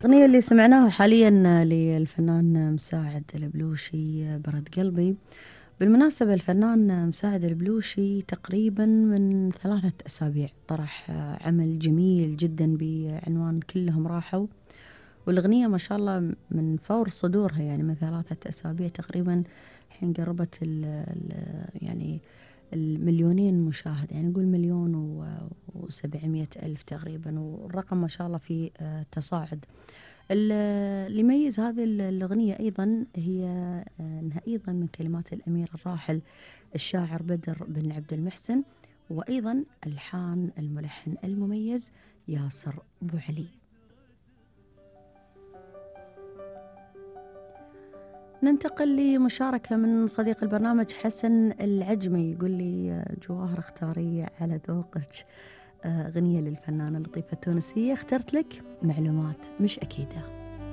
الأغنية اللي سمعناها حاليا للفنان مساعد البلوشي برد قلبي. بالمناسبة الفنان مساعد البلوشي تقريبا من 3 أسابيع طرح عمل جميل جدا بعنوان كلهم راحوا، والأغنية ما شاء الله من فور صدورها، يعني من 3 أسابيع تقريبا الحين قربت يعني المليونين مشاهد، يعني نقول 1,700,000 تقريبا، والرقم ما شاء الله في تصاعد. اللي يميز هذه الأغنية أيضا هي أنها أيضا من كلمات الأمير الراحل الشاعر بدر بن عبد المحسن، وأيضا ألحان الملحن المميز ياسر أبو علي. ننتقل لمشاركة من صديق البرنامج حسن العجمي، يقول لي جواهر اختاري على ذوقك أغنية للفنانة اللطيفة التونسية، اخترت لك معلومات مش أكيدة.